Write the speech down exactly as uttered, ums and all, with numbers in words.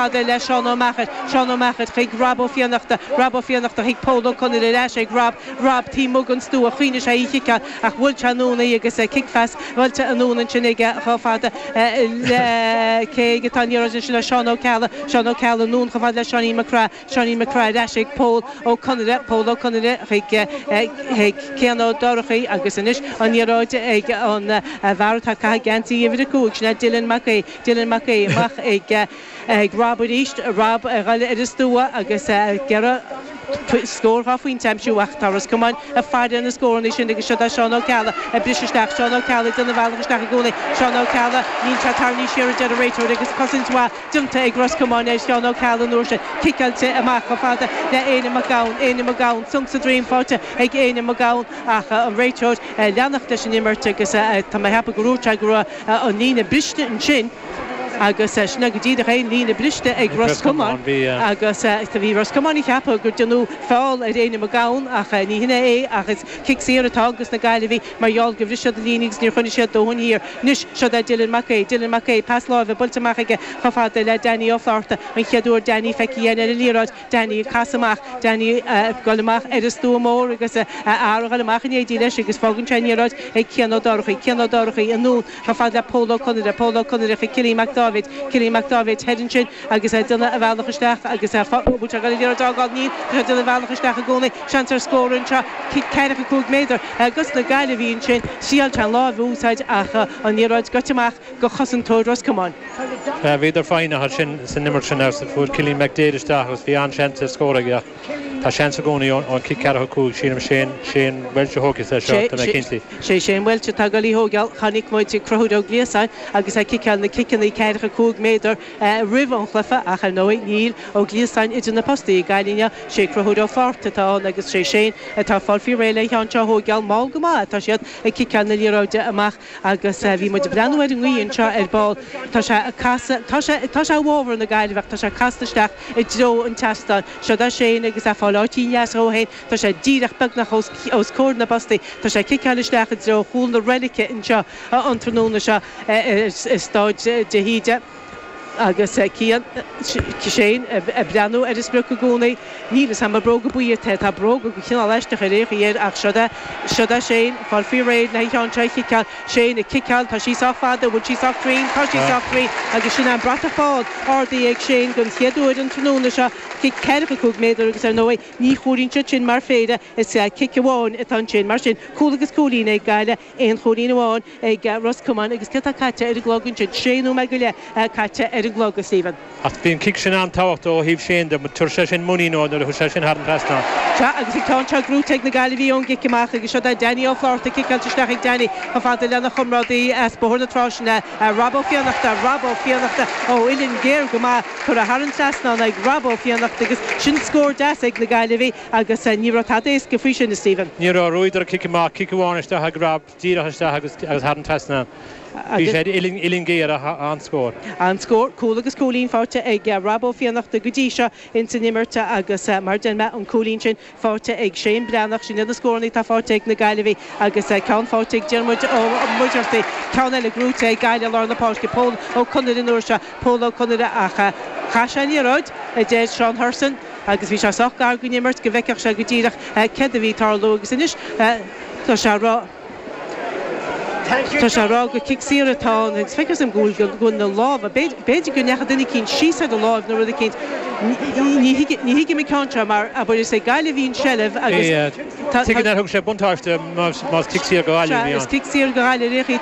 fada le Seán Ó Meachair, Seán Ó Meachair chuig Rob Ó Fiannachta, Rob Ó Fiannachta chuig Pól Ó Conaire ar ais ag Rob, Rob taobh amuigh den stua, choinnigh sé í chiceáil ach bhuail sé anonn í agus cic phas buailte anonn ansin aige chomh fada le cé atá an liathróid ansin le Seán Ó Ceallaigh, Seán Ó Ceallaigh anonn chomh fada le Seáinín Mac Craith, Seáinín Mac Craith ar ais ag Pól Ó Conaire, Pól Ó Conaire chuig chuig Cian Ó Dorchaí agus anois an liathróid ag an bhfear atá ag caitheamh geansaí uimhir a cúig, sin é Dylan Mac Aodha, Dylan Mac Aodha amach ag ag Rob arís, Rob ag dul ar an stua agus ag iarraidh scór dhá phointe a aimsiú ach tá Ros Comáin ag faire ar na scóranna sin agus siod é Seán Ó Ceallaigh ag briseadh isteach, Seán Ó Ceallaigh ag déanamh a bhealach isteach i gcónaí, Seán Ó Ceallaigh, níl sé tarraingthe siar a deir an réiteoir agus cosaint mhaith déanta ag Ros Comáin ar Sheán Ó Ceallaigh an uair sin, ciceáilte amach chomh fada le Éanna Mac Gabhann, Éanna Mac Gabhann, sonc sa droim faighte ag Éanna Mac Gabhann ach an réiteoir ag leanacht leis an imirt agus tá mé ag ceapadh go ndúirt sé go raibh an líne briste ansin agus sin é go díreach é, an líne briste ag Ros Comáin agus bhí Ros Comáin ag ceapadh gur déanadh feall ar Éanna Mac Gabhann ach ní hin é ach is cic saor atá ages na Gaillimhigh mar gheall gur bhris siad an líne agus níor choinnigh siad dóthain thiar. Anois siod é Dylan Mac Aodha, Dylan Mac Aodha, pas láimhe buailte amach aige chomh fada le Danny Ó Flatharta, an chéad uair Danny feicthe againn ar an liathróid, Danny ag casadh amach, Danny ag dul amach ar an stua mór agus a fhear ag dul amach in éindí leis agus fágann sé an liathróid ag Cian Ó Dorchaí, Cian Ó Dorchaí anonn chomh fada le Pól Ó Conaire, Pól Ó Conaire chuig Cillian Mac Dáibhéid, Cillian Mac Dáibhéid thoir ansin agus é ag déanamh a bhealach isteach agus é bhfuil sé ag dul an liathróid a fhágáil? Níl, tá sé ag déanamh a bhealach isteach i gcónaí. Seans ar scór anseo, cic ceathracha cúig méadar ages na Gaillimhigh ansin. Thriail sé an lámh a úsáid ach an liathróid gaibhte amach go chosantóir Ros Comáin. Bhíodar foighneach ansin san imirt sin agus fuair Cillian McDaid isteach agus bhí an-seans ar scór aige ach tá seans i gcónaí ón cic ceathracha cúig, sílim Shane Shane Walsh a thógfas é seo, tá mé cinnte. Sé Shane Walsh atá ag dul í a thógáil. Chonaic muid Conchúr Ó Gliasáin agus é ag ciceáil na ciceanna ceathracha cúig méadar roimh an chluiche ach ar ndóigh níl Ó Gliasáin idir na postaí ag Gaillimh inniu. Sé Conchúr Ó Flatharta atá ann agus sé Shane atá ag fáil faoi réir le an ceann seo a thógáil. Mall go maith atá siad ag ciceáil na liathróide amach agus bhí muid ag breathnú ar an ngaoth anseo ar ball. Tá sé ag casadh, tá sé, tá sé i bhfabhar na Gaillimhe ach tá sé casta isteach i dtreo an tseastáin. Siod é Shane agus é ag fáil áit dheas dhó féin. Tá sé díreach beagnach os, os comhair na bpostaí. Tá sé ag ciceáil isteach i dtreo chúl na reilice anseo an tráthnóna seo i Staid de hÍde. Agus Cian, Shane ag breathnú ar an sprioc i gcónaí. Níl fhios a'm an bróga buí atá, tá bróga de chineál aisteach ar aon chaoi air ach siod é, siod é Shane, ag fáil faoi réir le an ceann seo a chiceáil. Shane ag ciceáil, tá sí sách fada, bhfuil sí sách cruinn? Tá sí sách cruinn agus sin é an bratach bán ardaithe ag Shane den chéad uair an tráthnóna seo. Cic ceathracha cúig méadar agus ar ndóigh ní chomhaireann siad sin mar phéire, is cic amháin atá ansin. Mar sin, cúl agus cúilín ag Gaillimh, aon chúilín amháin ag Ros Comáin agus céard atá caite ar an gclog ansin? Sé nóiméad go leith caite ar an gclog, a Stephen. Ach bhí an cic sin an-tábhachtach ó thaobh Shane de, tabharfaidh sé sin muinín dó nuair a chuaigh sé sin thar an trasnán. Sea, agus an ceann seo gnóite ag na Gaillimhigh ón gcic amach agus siod é Danny Ó Flatharta ciceáilte isteach ag Danny chomh fada lena chomrádaí as Bóthar na Trá, sin é Rob Ó Fiannachta, Rob Ó Fiannachta ó uillinn géar go maith curtha thar an trasnán ag Rob Ó Fiannachta agus sin scór deas ag na Gaillimhigh agus ní raibh tada éasca faoi sin, a Stephen. Ní raibh, bhuadar an cic amach, cic amháin isteach ag Rob, díreach isteach agus agus thar an trasnán. Bhí sé uillinn uillinn géar ach an-scór. An-scór, cúl agus cúilín faighte ag Rob Ó Fiannachta go dtí seo ins an imirt agus mar deir mé an cúilín sin faighte ag Shane Breathnach, sin iad na scóranna atá faighte ag na Gaillimhigh agus ceann faighte ag Diarmuid Ó Muircheartaigh, ceann eile gnóite ag Gaillimh i lár na páirce, Pól Ó Conaire an uair seo, Pól Ó Conaire ach chaith sé an liathróid, a deir Seán Hurson agus bhí sé sách gar don imirt go bhfeicfeadh sé go díreach céard a bhí ag tarlú agus anois tá sé ag rá Tá sé ag rá gur cic saor atá ann agus feictear dom go bhfuil go bhfuil na lámha, b'fhéidir go ndeachaigh duine eicínt síos ar a láimh nó rud eicínt, ní ní thuigim an ceann seo mar abair is ag Gaillimh a bhí an tseilbh agus tá Tuigim nár thug sé buntáiste más cic saor go Gaillimh a bhí Sea, is ann. cic saor go Gaillimh ar aon chaoi atá